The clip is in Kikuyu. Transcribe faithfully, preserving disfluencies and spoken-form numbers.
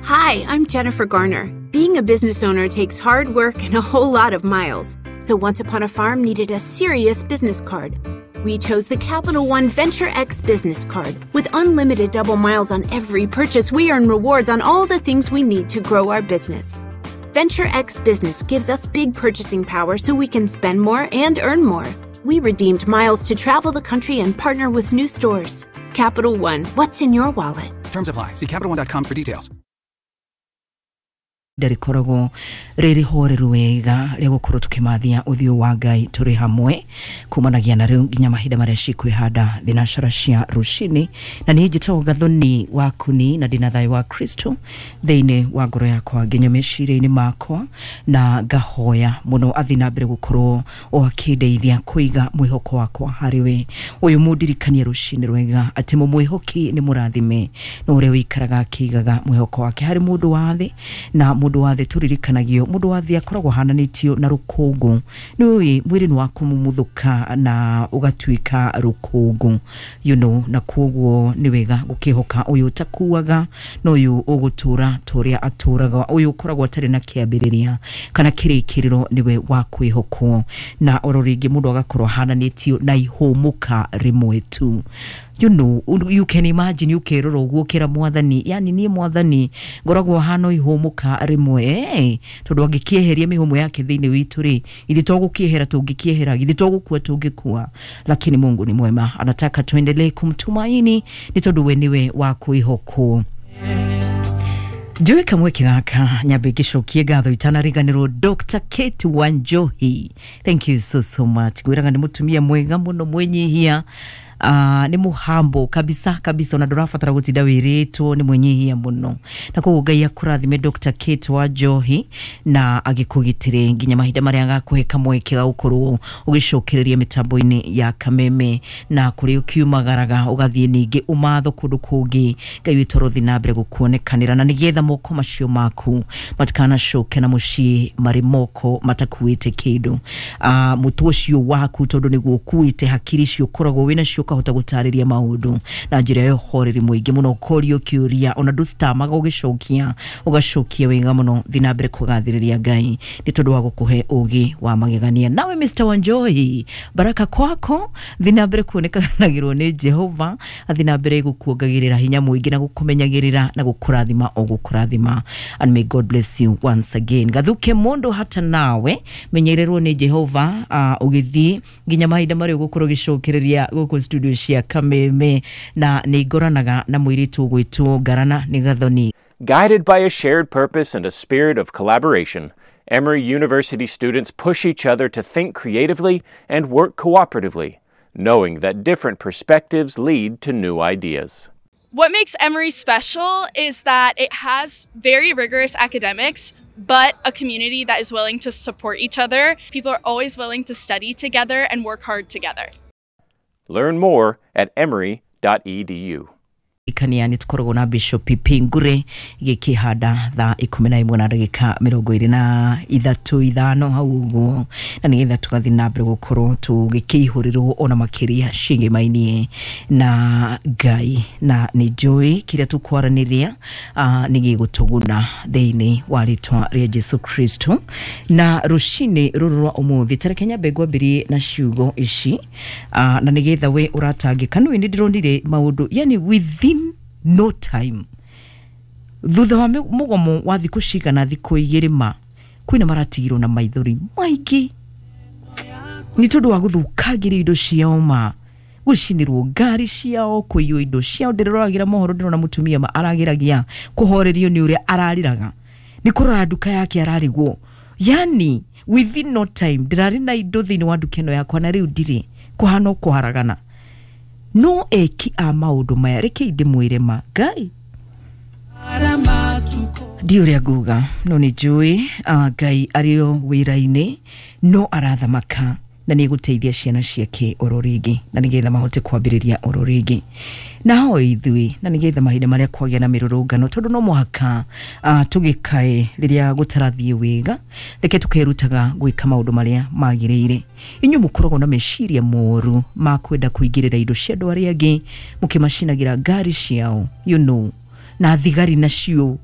Hi, I'm Jennifer Garner. Being a business owner takes hard work and a whole lot of miles. So Once Upon a Farm needed a serious business card. We chose the Capital One Venture X business card. With unlimited double miles on every purchase, we earn rewards on all the things we need to grow our business. Venture X Business gives us big purchasing power so we can spend more and earn more. We redeemed miles to travel the country and partner with new stores. Capital One, what's in your wallet? Terms apply. See Capital One dot com for details. Rĩkoragwo rĩrĩ horeru wega rĩa gũkorwo tũkĩmathia ũthiũ wa Ngai tũrĩ hamwe kumanagia na rĩu nginya mahinda marĩa cikwĩhanda thinacara cia rũcinĩ. Na niĩ njĩtagwo Gathoni wa Kuni na ndĩna thayũ wa Kristo thĩinĩ wa ngoro yakwa nginya meciria-inĩ makwa, na ngahoya mũno athiĩ na mbere gũkorwo o akĩndeithia kũiga mwĩhoko wakwa harĩ we. Ũyũ mũndirikanie rũcinĩ rwega atĩ mũmwĩhoki nĩ mũrathime na ũrĩa ũikaraga akĩigaga mwĩhoko wake harĩ mũndũ wa thĩ. Na mũndũ wa thĩ tũririkanagio mũndũ wa thĩ akoragwo ahananĩtio na rũkũngũ. Nĩ ũĩ mwĩrĩ nĩ wakumumuthũka na ũgatuĩka rũkũngũ, you know, na koguo nĩ wega gũkĩhoka ũyũ ũtakuaga na ũyũ ũgũtũra ta ũrĩa atũraga, ũyũ ũkoragwo atarĩ na kĩambĩrĩria kana kĩrĩkĩrĩro nĩwe wa kwĩhokwo. Na oro rĩngĩ mũndũ agakorwo ahananĩtio na ihũmũka rĩmwe tu. You know, you can imagine ukerora ũguo ũkĩra mwathani, yani niĩ mwathani ngoragwo hano ihũmũka rĩmwe, eh, tondũ angĩkĩeheria mĩhũmũ yake thĩinĩ witũ rĩ, ithuĩ to gũkĩehera tũngĩkĩehera, ithuĩ to gũkua tũngĩkua. Lakini Mungu ni mwema, anataka tuendelee kumtumaini nĩ tondũ we nĩwe wa kwĩhokwo. Njũĩ kamweke gaka nyambe ngĩcokie ngatho itanariganĩrwo Doctor Kate Wanjohi, thank you so so much. Ngwĩraga nĩ mũtumia mwega mũno mwĩnyihia, uh, nĩ mũhambo kabisa kabisa, ona ndũrabatara gũtinda wĩrĩtwo, nĩ mwĩnyihia mũno. Na koguo Ngai akũrathime Doctor Kate Wanjohi na agĩkũgitĩre nginya mahinda marĩa agakũhe kamweke ga gũkorwo ũgĩcokereria mĩtambo-inĩ ya Kameme na kũrĩa ũkiumagaraga ũgathiĩ ningĩ ũmatho kũndũ kũngĩ. Ngai witũ arothiĩ na mbere gũkuonekanĩra na nĩgetha moko macio maku matikanacoke na mũciĩ marĩ moko matakuĩte kĩndũ. Uh, mũtwe ũcio waku tondũ nĩguo ũkuĩte hakiri icio ũkoragwo wĩnacio ũkahota gũtarĩria maũndũ na njĩra ya ũhoreri mũingĩ mũno, ũkorio kĩũria ona ndũcitamaga ũgĩcokia, ũgacokia wega mũno. Thiĩ na mbere kũgathĩrĩria Ngai nĩ tondũ wa gũkũhe ũgĩ wa magegania. Nawe Mister Wanjohi, baraka kwako, thiĩ na mbere kuonekanagĩrwo nĩ Jehova, athiĩ na mbere gũkuongagĩrĩra hinya mũingĩ na gũkũmenyagĩrĩra na gũkũrathima o gũkũrathima. And may God bless you once again. Gathuke mũndũ hata nawe menyererwo nĩ Jehova uh, ũgĩthiĩ nginya mahinda marĩa ũgũkorwo ũgĩcokereria gũkũ studio cia Kameme. Na nĩ ngoranaga na mũirĩtu ũgwĩtwo Ngarana nĩ Gathoni. Guided by a shared purpose and a spirit of collaboration, Emory University students push each other to think creatively and work cooperatively, knowing that different perspectives lead to new ideas. What makes Emory special is that it has very rigorous academics, but a community that is willing to support each other. People are always willing to study together and work hard together. Learn more at emory dot e d u. Ikania nĩ tũkoragwo na Bishop Pingure gĩkĩhanda thaa ikũmi na ĩmwe na ndagĩka mĩrongo ĩrĩ na ithatũ ithano hau ũguo, na nĩgetha tũgathiĩ na mbere gũkorwo tũgĩkĩihũrĩrwo ona makĩria ciĩgĩmainie na Ngai. Na nĩ njũĩ kĩrĩa tũkwaranĩria uh, nĩ gĩgũtũguna thĩinĩ wa rĩtwa rĩa Jesu Kristo. Na rũcinĩ rũrũ rwa ũmũthĩ tareke nyambe ngwambĩrie na ciugo ici, uh, na nĩgetha we ũratangĩka. Nĩũĩ nĩ ndĩronire maũndũ yani within no time thutha wa mũgomo wa thikũ cigana thikũ igĩrĩ ma kwĩna maratigirwo na maithori maingĩ nĩ tondũ wa gũthũkangĩrio indo ciao ma gũcinĩrwo ngari ciao kũiywo indo ciao. Ndĩroragĩra mohoro ndĩrona mũtumia ma arageragia kũhorerio nĩ ũrĩa ararĩraga nĩ kũrora nduka yake ararigwo, yani within no time ndĩrarĩ na indo thĩinĩ wa nduka ĩno yakwa na rĩu ndirĩ, kũhana o kũharagana. No eki a maũndũ maya reke ndĩmwĩre ma Ngai ndi ũrĩa nguga, no nĩ njũĩ Ngai arĩ o wĩra-inĩ no arathamaka na nĩ egũteithia ciana ciake oro rĩngĩ na nĩgetha mahote kwambĩrĩria oro rĩngĩ. Na ho ithuĩ na nĩgetha mahinda marĩa kwagĩa na mĩrũrũngano, tondũ no mũhaka uh, tũgĩkae rĩrĩa gũtarathiĩ wega, reke tũkerutaga gwĩka maũndũ marĩa magĩrĩire. Inyuĩ mũkoragwo na meciria moru ma kwenda kũingĩrĩra indo cia andũ arĩa angĩ mũkĩmacinagĩra ngari ciao, you know, na thigari nacio